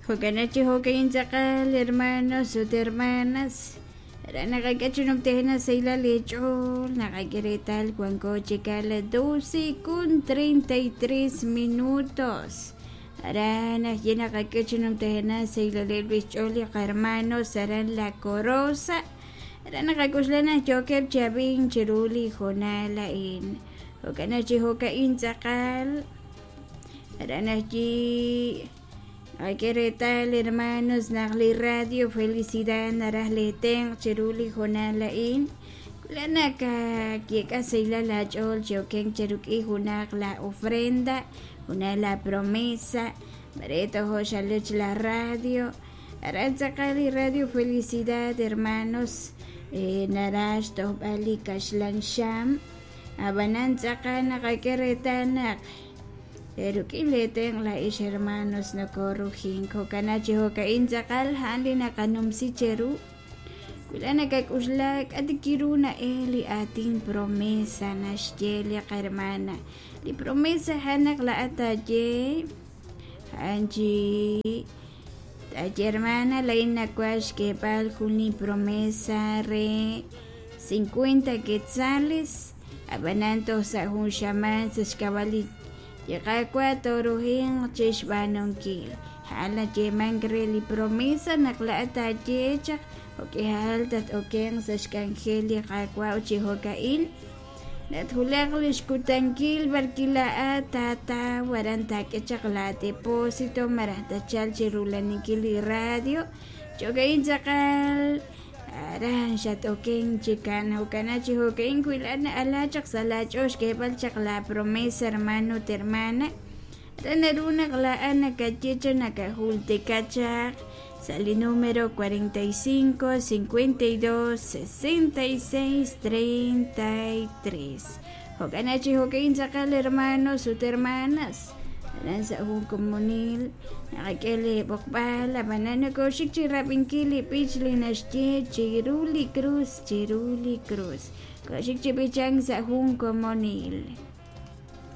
Jo'kan chi jo'ka'in tz'aqal hermanos ut hermanas aran naqak'e chi numtejena sahilal eech'ool naqak'e reetal wanko chik a la 12 con 33 minutos. Aran ajye naqak'e chi numtejena sahilaleb' li xch'ool li qahermanos aran La Corosa. Aran naqak'oxla naq yookeb' chi ab'ink chiru li hoonal a'in. Jo'kan chi jo'ka'in tz'aqal aran ajyi naqak'e reetal hermanos naq li Radio Felicidad naraj li tenq' chiru li hoonal a'in. La nakayek'a sahilal aach'ool chi okenk cheruk'i junaq la ofrenda, junaq la promesa, mare tojo xalech la radio. Aran tz'aqal li Radio Felicidad hermanos naraj xtojb'al li kaxlan xam, ab'anan tz'aqal naqak'e reetal naq ruk'in li tenq' laa'ex hermanos nokorujink. Jo'kan chi jo'ka'in tz'aqal a'an li naqanumsi cheru. Wi la nakak'oxla k'a' kiru na'el li aatin promesa naxye li qahermana. Li promesa a'an naq laa'at taaye a'an chi taaye hermana laa'in nawaj xk'eeb'al jun li promesa re 50 quetzales, ab'anan toj sa' jun xamaan sa' xk'ab'a' li Qaawa' tooruhinq chi xb'aanunkil. A'an nayeemank re li promesa naq laa'at taaye chaq jo'k'ihal tat-okenq sa' xk'anjel li Qaawa' ut chi jo'ka'in natwulaq li xkutankil b'arwi' laa'at taataw aran taak'e chaq la depósito malaj tachalq chi rulaninkil li radio. Jo'ka'in tz'aqal aran xat-okenk chikan. Jo'kan chi jo'ka'in wi laa'at na'ala chaq sa' laach'ool xk'eeb'al chaq la promesa hermano ut hermana, aran naru naq laa'at nakaye chaq nakajultika chaq sa' li número 45 52 66 33. Jo'kan chi jo'ka'in tz'aqal hermanos ut hermanas aran sa' jun komonil naqak'e li b'oqb'al, ab'anan nokoxik chi rab'inkil li b'ich li naxye chiru li cruz, chiru li cruz. Koxik chi b'ichank sa' jun komonil.